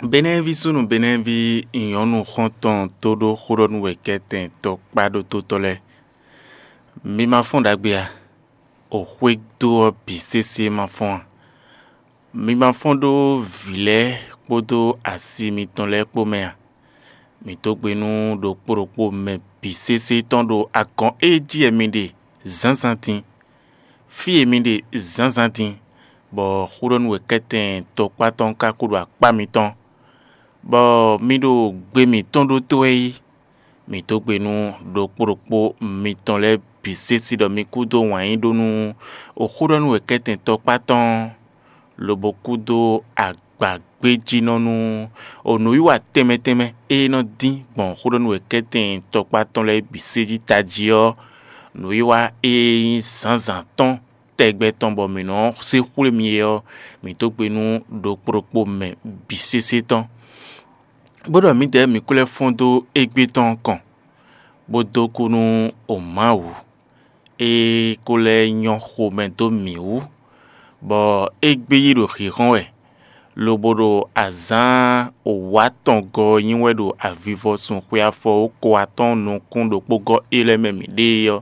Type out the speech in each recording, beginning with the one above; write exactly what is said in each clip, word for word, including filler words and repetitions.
Benɛ́ví súnnu Benɛ́ví nyɔ̌nu xɔ́ntɔn tó ɖó xó ɖɔ nú wɛ̌kɛ́tɛn tɔkpá ɖótótɔ́ lɛ́ɛ. Mi ma fɔ́n ɖagbe a? O xwé dó ɔ́ bǐ sésé ma fɔ́n a? Mi ma fɔ́n ɖó vǐ lɛ́ɛ kpódó asi mitɔn lɛ́ɛ kpó mɛ a? Mǐ dó gbe nú ɖokpó ɖokpó mɛ bǐ sésé tɔn ɖo agɔn e jí wɛ mi ɖe zǎnzǎn din, fí e mi ɖe zǎnzǎn din, bɔ xó ɖɔ nú wɛ̌kɛ́tɛn tɔkpá tɔn ka kú ɖo akpá mitɔn, bɔ mi ɖo gbe mǐtɔn ɖótó wɛ yí. Mǐ dó gbe nú ɖokpó ɖokpó mitɔn lɛ́ɛ bǐ sésé ɖɔ mi kú dó wǎn yí ɖó nú xó ɖɔ nú wɛ̌kɛ́tɛn tɔkpá tɔn, lobo kú dó agbagbéjínɔ nú o nǔwiwa tɛnmɛ tɛnmɛ e nɔ dín gbɔn xó ɖɔ nú wɛ̌kɛ́tɛn tɔkpá tɔn lɛ́ɛ bǐ sé jí tají ɔ́, nǔwiwa e nyí zǎnzǎn tɔn tɛgbɛ tɔn bɔ mǐ nɔ se xwlé mi é ɔ́, mǐ dó gbe nú ɖokpó ɖokpó mɛ bǐ sésé tɔn, bó ɖɔ mǐdɛɛ mǐ kú lɛ́ fɔ́n dó égbé tɔn kɔn, bó dó kú nú o Mawu e ko lɛ́ nyɔ́ xomɛ dó mǐ wú, bɔ é gbé yí ɖo hǐnhɔ́n wɛ, lobo ɖo azǎn wǒ atɔngɔ́ ɔ́ nyi wɛ ɖo avivɔsun xwe afɔwókɔ atɔ́ɔ́n nukún ɖokpógɔ́ é lɛ́ɛ mɛ mǐ ɖe é ɔ́,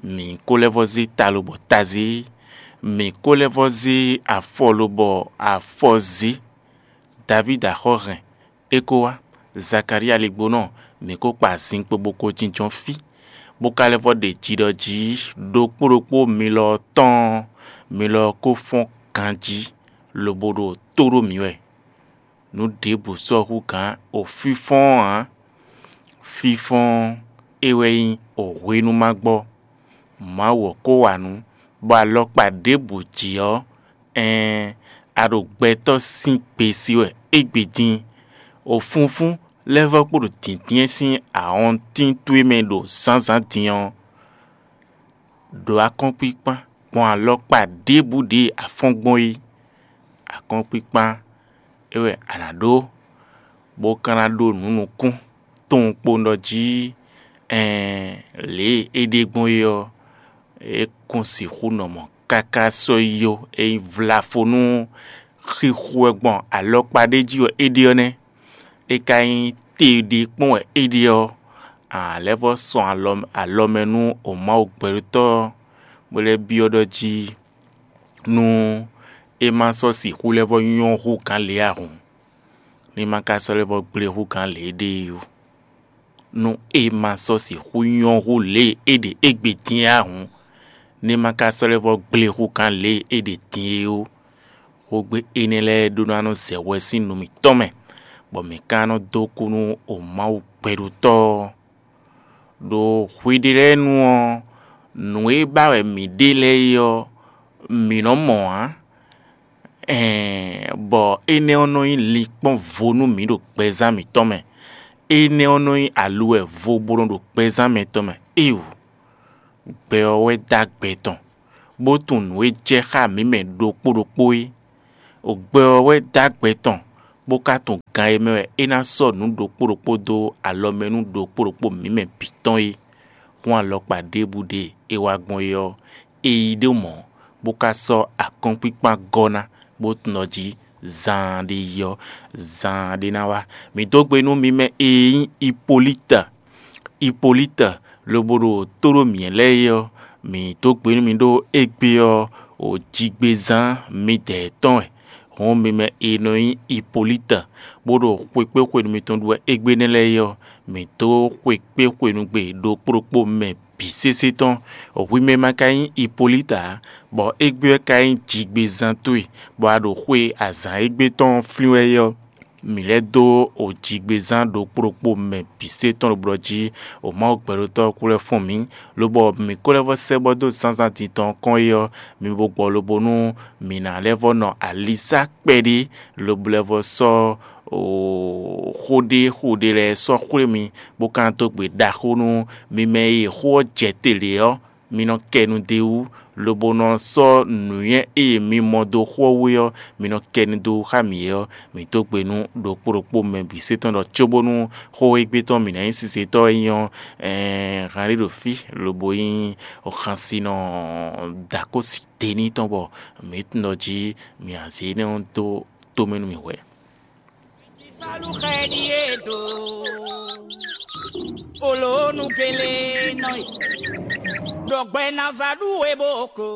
mǐ ko lɛ́ vɔ́ zé ta lobɔ ta zé, mǐ ko lɛ́ vɔ́ zé afɔ lobɔ afɔ zé. Davídi axɔ́ hɛn, é ko wá. Zakalía ligbónɔ, mǐ ko kpa azinkpo bó ko jínjɔ́n fí, bó ka lɛ́ vɔ́ ɖe jiɖɔ jí ɖokpó ɖokpó mi lɔ ɔ́ tɔn ɔ́, mi lɔ ɔ́ ko fɔ́n ganjí, lobo ɖo tó ɖó mǐ wɛ. Nǔ ɖěbǔ sɔ́ hú gǎn o fínfɔ́n ɔ́ ǎ. Fínfɔ́n é wɛ nyí o hwenu ma gbɔ. Mawu ɔ́ ko wa nǔ, bɔ alɔkpa ɖěbǔ jí ɔ́, ɛɛn, a ɖo gbɛtɔ́ sín gbe sí wɛ égbé dín. O funfún lɛ́ vɔ́ kpo ɖo dǐndín sín awɔntín towe mɛ ɖo zǎnzǎn din ɔ́, ɖo akɔ́nkpíkpán gbɔn alɔkpa ɖěbǔ ɖě a fɔ́n gbɔn é. Akɔ́nkpíkpán é wɛ a nǎ ɖó, bó ka ná ɖó nǔ nukún tɔn kpowun ɖɔ jí, ɛɛn, lě e é ɖe gbɔn é ɔ́, é kún sixú nɔ mɔ̌ káká sɔ́ yi ó. É nyí vlafo nú xixo wɛ gbɔn alɔkpa ɖé jí wɛ é ɖe ɔ́ nɛ́. É ka nyí te ɖé kpɔ́n wɛ é ɖe ɔ́, a lɛ́ vɔ́ sɔn alɔ mɛ nú o Mawu gbɛɖótɔ́ ɔ́, bó lɛ́ byɔ́ ɖɔ jí nú é ma sɔ́ sixú lɛ́ vɔ́ nyɔ́ hú gǎn lě a hǔn, ní ma ka sɔ́ lɛ́ vɔ́ gblé hú gǎn lě é ɖe é ó. Nú é ma sɔ́ sixú nyɔ́ hú lě e é ɖe égbé din é a hǔn, ní ma ka sɔ́ lɛ́ vɔ́ gblé hú gǎn lě e é ɖe din é ó. Xógbé énɛ́ lɛ́ɛ ɖó ná nɔ zɛ hwɛ sín nú mǐtɔn mɛ, bɔ mǐ ka nɔ dó kú nú o Mawu gbɛɖótɔ́ ɔ́. Ɖo hwiɖée lɛ́ɛ nu ɔ́, nǔ e ba wɛ mǐ ɖe lɛ́ɛ é ɔ́, mǐ nɔ mɔ ǎ. Ɛɛn, bɔ énɛ́ ɔ́ nɔ nyí linkpɔ́n vo nú mǐ ɖo gbɛzán mǐtɔn mɛ. Énɛ́ ɔ́ nɔ nyí aluwɛ vo bó nɔ ɖo gbɛzán mǐtɔn mɛ. Éeǒ! Gbɛ ɔ́ wɛ dó agbɛ tɔn, bó tunwun nǔ e jɛ xá mǐ mɛ ɖokpó ɖokpó é. Gbɛ ɔ́ wɛ dó agbɛ tɔn, bó ka tunwun gan e mɛ wɛ é ná sɔ́ nǔ ɖokpó ɖokpó dó alɔ mɛ nú ɖokpó ɖokpó mǐ mɛ bǐ tɔn é. Hǔn alɔkpa ɖěbǔ ɖe e wá gbɔn é ɔ́, é yí ɖó mɔ̌, bó ka sɔ́ akɔ́nkpíkpán gɔ́ ná, bó tunwun ɖɔ jí zaan ɖé yi ɔ́, zaan ɖé ná wá. Mǐ dó gbe nú mi mɛ e nyí Hipolíta. Hipolíta lobo ɖo tó ɖó mǐ lɛ́ɛ é ɔ́, mǐ dó gbe nú mi ɖó égbé ɔ́, o jigbezán midɛɛ tɔn wɛ. Hǔn mi mɛ e nɔ nyí Hipolíta, bó ɖo xwekpéxwenu mitɔn ɖu wɛ égbé nɛ́ lɛ́ɛ é ɔ́, mǐ dó xwekpéxwenu gbe ɖokpó ɖokpó mɛ bǐ sésé tɔn. Hwi mɛ ma ka nyí Hipolíta ǎ, bɔ égbé ɔ́ ka nyí jigbezán towe, bɔ a ɖo xwe azǎn égbé tɔn flín wɛ é ɔ́, mǐ lɛ́ dó o jigbezán ɖokpó ɖokpó mɛ bǐ sé tɔn ɖo blɔ̌ jí, o Mawu gbɛɖótɔ́ ɔ́ kú lɛ́ fɔ́n mǐ, lobɔ mǐ ko lɛ́ vɔ́ sɛ́ bɔ dó zǎnzǎn din tɔn kɔn é ɔ́, mi bo gbɔ lobo nú mǐ ná lɛ́ vɔ́ nɔ alisá kpɛɖé, lobo lɛ́ vɔ́ sɔ́ xó ɖé xó ɖé lɛ́ɛ sɔ́ xwlé mi, bó ka dó gbe ɖaxó nú mi mɛ e xó ɔ́ jɛ te lě ɔ́, mi nɔ kɛ nu d'é wú, lobo nɔ sɔ́ nǔnywɛ́ e mi mɔ dó xó ɔ́ wú é ɔ́, mi nɔ kɛ nu dó xá mǐ é ɔ́, mǐ dó gbe nú ɖokpó ɖokpó mɛ bǐ sé tɔn ɖɔ cóbónú xó égbé tɔn mǐ ná nyí sinsɛntɔ́ e nyí ɔ́, ɛɛn, han ɖé ɖo fí, lobo nyí xansinɔ dǎkósi tení tɔn bɔ mǐ tunwun ɖɔ jí mǐ azě énɛ́ ɔ́ dó tomɛ nú mǐ hwɛ̌. Salu xɛ ɖíe do. Olo nu gele nɔ e. Ɖɔ gbɛ na za ɖu we bo ko.